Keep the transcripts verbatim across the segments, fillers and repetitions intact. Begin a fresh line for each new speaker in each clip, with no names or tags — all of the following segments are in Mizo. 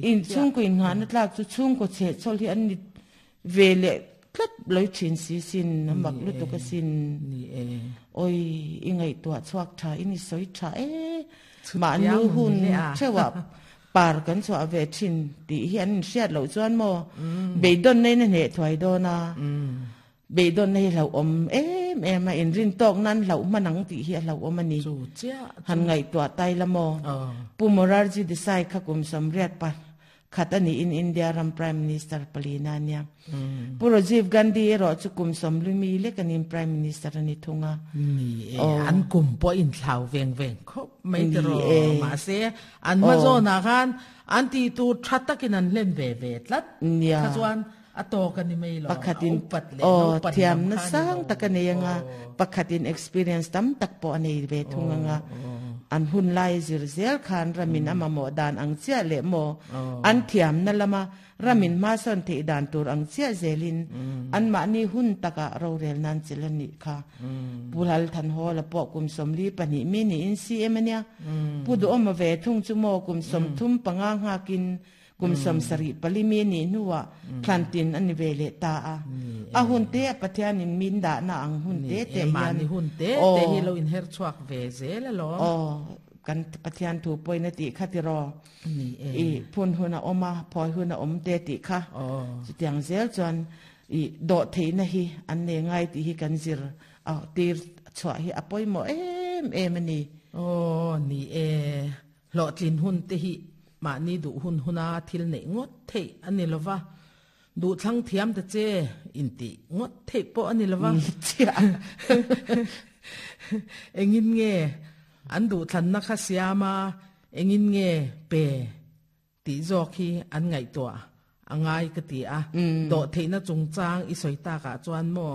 In chhungkaw innghahna tlak chu chhungkaw chhehchhawl hi an ni ve leh tlat lo thin si sin, a mak lutuk asin. Oi, i ngaihtuah chhuak tha in i sawi tha e. Mahni hun theuhah par kan chhuah ve thin tih hi an inhriat loh chuan maw beidawn neiin a hneh thuai dawn a. Beidawn hi hlauhawm em em a, inrin tawk nan hlauh hman ang tih hi a hlauhawm a ni. Han ngaihtuah tai la maw? Pu Morarji Desai kha kum sawmriat pa khat a niin India ram Prime Minister palina a nia. Pu Rajiv Gandhi erawh chu kum sawmli mi lek a niin Prime Minister a ni thung a.
Ni e, an kum pawh inthlau veng veng khawp mai tiraw. Mahse, an hma zawnah khan an tih tur tha takin an hlen ve ve tlat. Kha chuan A tawk a ni mai lo.
Pakhatin aw thiamna sang tak a nei anga, pakhatin experience tam tak pawh a nei ve thung anga, an hun lai zir zel khan ramin a mamawh dan ang chiah leh maw an thiamna lama ramin hmasawn theih dan tur ang chiah zelin anmahni hun takah rorel nan chilh a nih kha. Pu Lalthanhawla pawh kum sawmli pahnih mi niin C M a nia. Pu Duhawma ve thung chu maw kum sawmthum panga nghakin Kum sawmsarih pali mi nih hnuah thlantin a ni ve leh ta a. A hun te a Pathianin min dahna ang hun te te hian.
Mahni hun te te hi lo inher chhuak ve zel alawm.
Aw, kan Pathian thu pawhin a tih kha tiraw?
Ni e.
I phun hun a awm a, phawi hun a awm te tih kha. Chutiang zel chuan i dawh theihna hi an nei ngai tih hi kan zir a tir chhuah hi a pawimawh em em a ni.
Aw, ni e. Hlawhtlin hun te hi mahni duh hun huna thil neih ngawt theih a ni lo va, duh thlang thiam ta che intih ngawt theih pawh a ni lo va. Engin nge an duhthlanna kha siam a, engin nge pe tih zawk hi an ngaihtuah a ngai ka ti a. Dawhtheihna chungchang i sawi takah chuan maw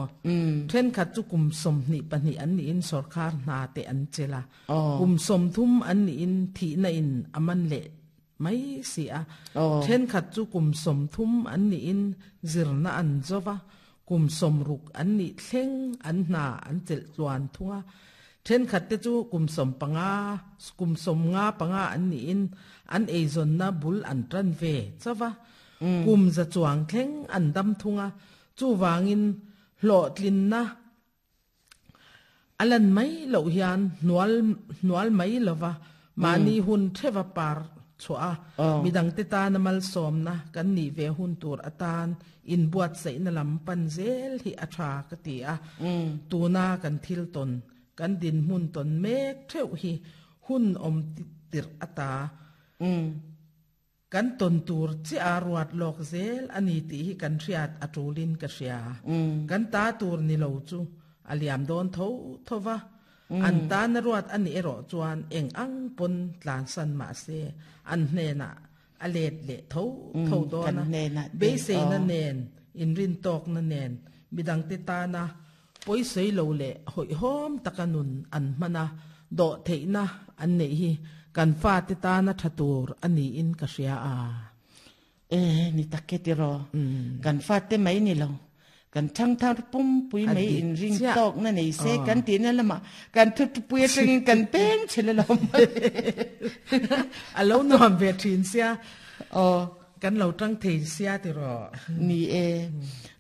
thenkhat chu kum sawmhnih pahnih an nihin sawrkar hna te an chelh a, kum sawmthum an nihin thihna in a man leh mai si a. Thenkhat chu kum sawmthum an nihin zirna an zo va, kum sawmruk an nih thleng an hna an chelh tluan thung a. Thenkhat te chu kum sawm panga, kum sawm nga panga an niin an eizawnna bul an tan ve chauh a. Kum za chuang thleng an dam thung a, chuvangin hlawhtlinna a lan mai loh hian hnual hnual mai lova mahni hun theva par chhuah a, midangte tana malsawmna kan nih ve hun tur atan inbuatsaihna lam pan zel hi a tha ka ti a. Tuna kan thil tawn, kan dinhmun tawn mek theuh hi hun awm tirh ata kan tawn tur chiah a ruat lawk zel a ni tih hi kan hriat a tulin ka hria. Kan ta tur ni lo chu a liam dawn tho tho va, an tana ruat a nih erawh chuan eng ang pawn tlansan mah se an hnenah a let leh tho tho dawn a, beiseina nen, inrintawkna nen, midangte tana pawisawi lo leh hawihhawm taka nun an hman a, dawhtheihna an neih hi kan fate tana tha tur a niin ka hria a.
E, ni tak e tiraw. Kan fate mai ni lo. Kan thangthar pumpui mai inring tawkna nei se kan tihna lamah kan thutpui atangin kan peng chhel a lo mai.
A lo nuam ve thin sia. Aw, kan lo tang thei sia tiraw.
Ni e,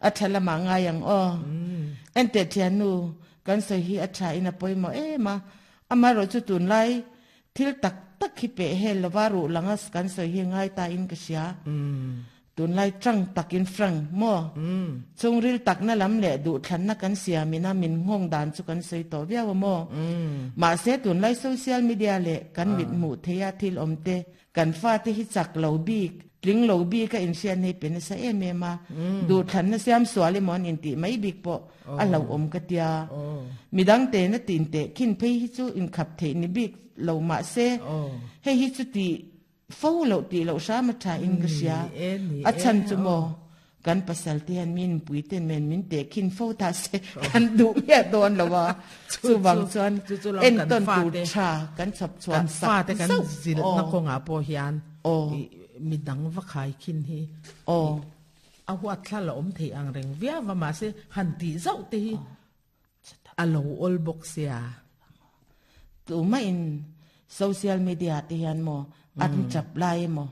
a tha lamah ngai ang aw. Enteh thiannu, kan sawi hi a tha in a pawimawh em a, amaherawhchu tunlai thil tak tak hi peh hel lova ruh langa kan sawi hi ngai ta in ka hria. Tunlai tang takin frank maw? Chungril takna lam leh duhthlanna kan siamina min nghawng dan chu kan sawi tawh viau a maw? Mahse tunlai social media leh kan mit hmuh theia thil awm te, kan fate hi chak lo bik, tling lo bik a inhriat nei pe nasa em em a, duhthlanna siam sual emaw an intih mai bik pawh a hlauhawm ka tia. Midang tena tin teh khin phei hi chu inkhap theih ni bik lo mahse hei hi chu tih Fo loh tih loh hram a tha in ka hria. A chhan chu maw kan pasal te hian min pui ten men min teh khin fo ta se kan duh miah dawn lo a. Chuvang chuan entawn tur tha kan chhawp chhuah
sak zauh. Kan fate kan zilhna kawngah pawh hian midang va khai khin hi a huat thla la awm thei ang reng viau a mahse han tih zauh te hi a lo awl bawk sia.
Tumah in social media te hian maw an chap lai emaw